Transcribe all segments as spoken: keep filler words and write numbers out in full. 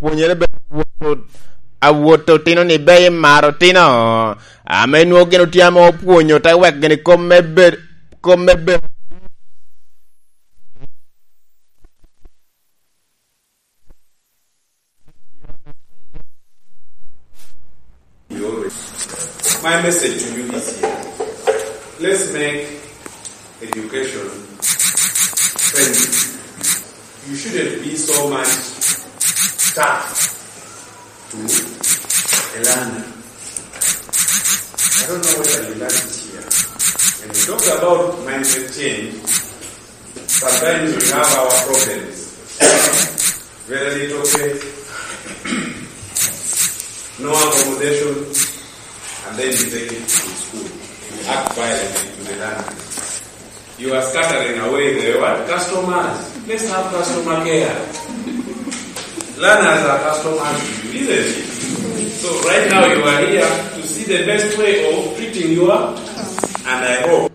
pwonyere bene awot, awot otino ni be imaro otino. Ame nwoŋo gin otye ame opwonyo, te wek gini kom me bed, kom me bed. My message to you is here. Let's make education friendly. You shouldn't be so much tough to a learner. I don't know whether you learned it here. When we talk about mindset change, sometimes we have our problems. Very little pay, no accommodation, and then you take it to school. You act violently to the learner. You are scattering away the what? Customers. Let's have customer care. Learners are customers to you, isn't it? So right now you are here to see the best way of treating your, and I hope.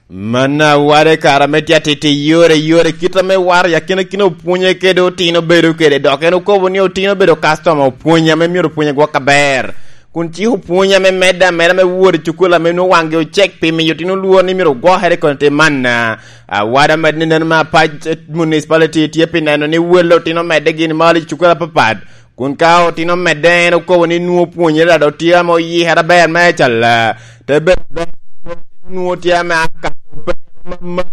Manna wade kara me tye atiti yore yore kit ame waro i akina kina opwonye kede otino bedo kede, dok en okobo ni otino bedo customer opwony ame myero opwonye gwok aber. Kun cik opwony ame medde ameda me wot i cukul ame nwoŋo waŋgi ocek pi miyo otino lwor ni myero ogwokere kono tye manna. Awada med ni neno me Apac Municipality tye pi neno ni welle otino medde gin malo i cukul apapat. Kun ka otino medde en okobo ni nwoŋo pwonyere dok tye ame oyikere aber me acalla, te bedo ber nwoŋo tye ame akato pe mamalo.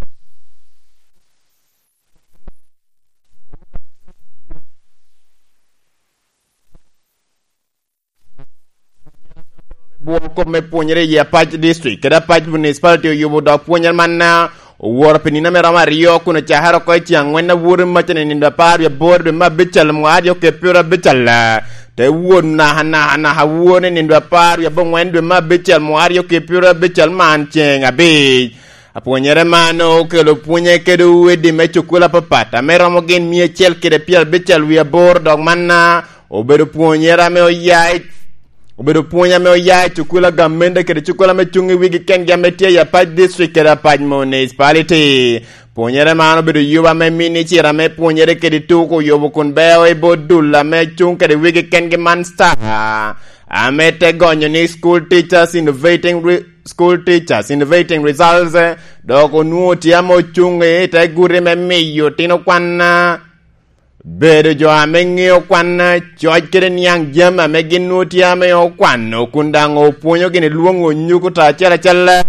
Bwo kop me pwonyere i Apac District kede Apac Municipality oyubo dok pwonyere manna owoto pi nino ame romo aryo kun ocakere oko i ceng angwen aworo macca i nino apar wie aboro dwe me abical mwaka aryo kede pyero abical. Te wot naka naka naka aworo i nino apar wie abongwen dwe me abical mwaka aryo kede pyero abical man ceng abic. Apwonyere man okelo pwonye kede owedi me cukul apapat ame romo gin mia acel kede pyero abical wie aboro dok manna obedo pwonyere ame oya i, obedo pwony ame oya i cukul a gamente kede cukul ame cuŋ i wigi kengi ame tye i Apac District kede Apac Municipality. Pwonyere man obedo yubo ame minicita ame pwonyere kede tuko oyubo kun beo i bot dul ame cuŋ kede wigi kengi man star ame te gonyo ni School Teachers Innovating Re-, School Teachers Innovating Results, dok onwoŋo tye ame ocuŋ i te guti me miyo otino kwan, bedo jo ame ŋeo kwan, coc kede niaŋ jami ame gin nwoŋo tye ame okwano kun daŋ opwonyo gini lwoŋo onyuko to acel acel.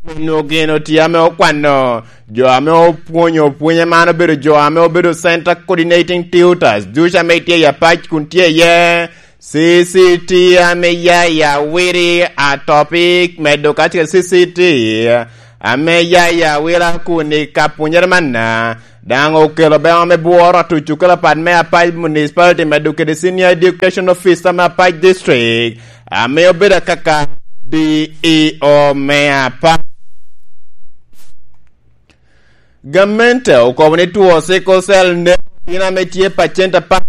Nwoŋo gin otye ame okwano jo ame opwonyo opwonye man obedo jo ame obedo center coordinating tutors ducu ame tye i Apac kun tye iye C C T ame ya i Awiri, Atopik, medo kacel kede C C T ame ya i Awila kun i ka pwonyere manna. Daŋ okelo beo ame bworo atuco kelo apat me Apac Municipality medo kede Senior Education Officer me Apac District ame obedo akaka D E O me Apac. Gamente okobo ni two sickle cell nek otino ame tye pacent apar.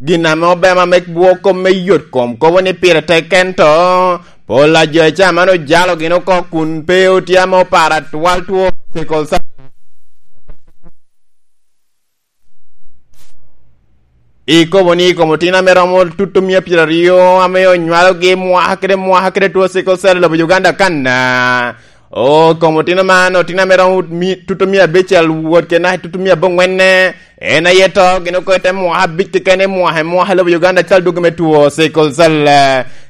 Gin ame obema me bwo kom me yot kom kobo ni pire tek ento pol a jo i caman ojalo gin oko kun pe otye ame oparo atwal two sickle cell. Ikobo ni i kom otino ame romo tuto mia pyeraryo ame onywalogi mwaka kede mwaka kede two sickle cell i lobo Uganda kan, o kom otino man, otino ame romo mi-, tuto mia abicel wot kede naka i tuto mia abongwenne, en aye to gin oko i te mwaka abic keken i mwaka i mwaka i lobo Uganda cal dwogo me two sickle cell.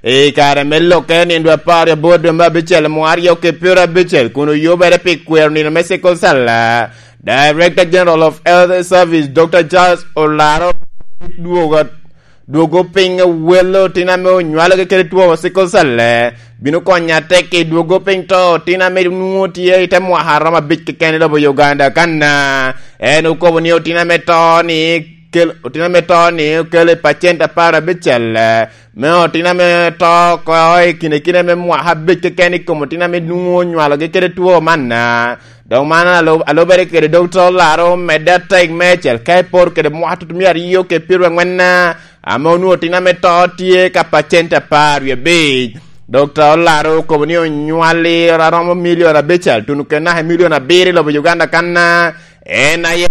I kare me lokke nino dwe apar aboro dwe me abicel mwaka aryo kede pyero abicel kun oyubere pi kwero nino me sickle cell. Director General of Health Service, Doctor Charles Olaro, dwogo, dwogo piny wel otino ame onywalogi kede two sickle cell, bino konyo atek i dwogo piny to otino ame nwoŋo tye i te mwaka romo abic keken i lobo Uganda kan. En okobo ni otino ame to ni kel-, otino ame to ni okelo i pacent apar abicel, me otino ame to oko i kine kine me mwaka abic keken i kom otino ame nwoŋo onywalogi kede two man. Dok man alo-, alubere kede Dokta Olaro medde atek meicel ka iporo kede mwaka tutumia aryo kede pyero angwen, ame onwoŋo tin ame to tye ka pacent apar wie abic. Dokta Olaro okobo ni onywali aromo milion abical, tuno kede naka milion abiro i lobo Uganda kan, en aye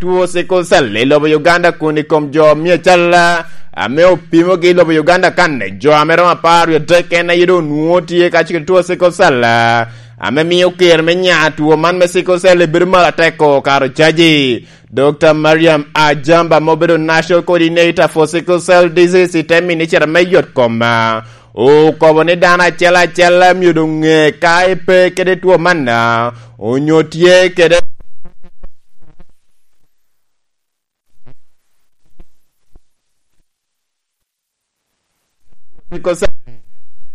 two sickle cell i lobo Uganda kun i kom jo mia cal ame opimogi i lobo Uganda kan, jo ame romo apar wie adek en aye doŋ onwoŋo tye kacel kede two sickle cell, ame mio ker me nya two man me sickle cell bedo malo atek-ko karo caji. Dokta Mariam Ajamba ma obedo National Coordinator for Sickle Cell Disease i te Ministry me Yot Kom, okobo ni dano acel acel myero doŋ ŋe ka epe kede two man, onyo tye kede sickle cell.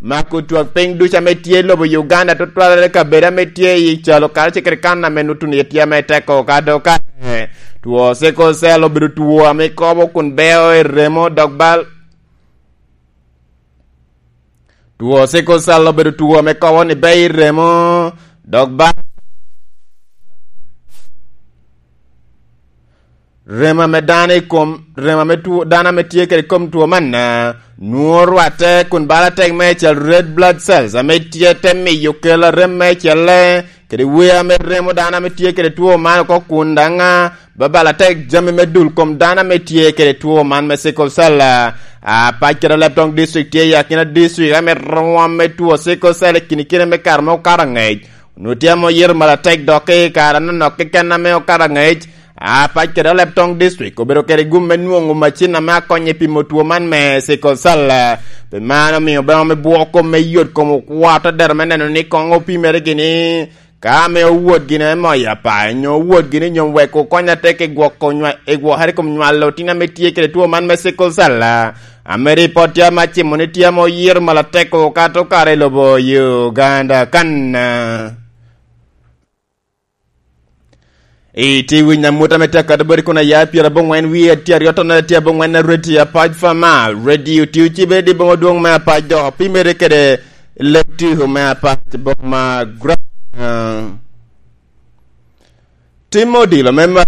Mako twak piny ducu ame tye i lobo Uganda, tutwalere kabedo ame tye i calo karacel kede kan ame nutu ni tye ame teko ka dok kare. Two sickle cell obedo two ame kobo kun beo i remo dok bal. Two sickle cell obedo two ame kobo ni beo i remo dok bal. Remo ame dano i kom, remo ame two, dano ame tye kede kom two man, ah, nwoŋo rwatte kun bala tek me cal red blood cells ame tye te miyo kela rem me celle kede wer ame remo dano ame tye kede two man oko kun daŋ, ah, babala tek jami me dul kom dano ame tye kede two man me sickle cell. Ah, apac kede Alebtong district tye i akina district ame rwom me two sickle cell i kine kine me kare ma okato angec. Onwoŋo tye ame oyito malatek dok i kare anonok keken ame okato angec, apac kede Alebtong district obedo kede gum me nwoŋo macin ame akonyo i pimo two man me sickle cell. Pi man omio bene ame bwoko me yot kom okwato dero me neno ni koŋ opimere gini ka ame owot gini ame moyo apac, nyo owot gini nyo wek okony atek i gwoko nywa-, i gwokere i kom nywalo tin ame tye kede two man me sickle cell. Ame ripot tye ame acimo ni tye ame oyito malatek okato kare i lobo Uganda kan. I tye winy amut ame tye akato bodi kun aya pyera abongwen wie tye aryo tonere tye abongwen na radio apac fama radio tye ocibe di boma dwong me apac dok opimere kede lek tiko me apac boma gra. Tim odilo me ma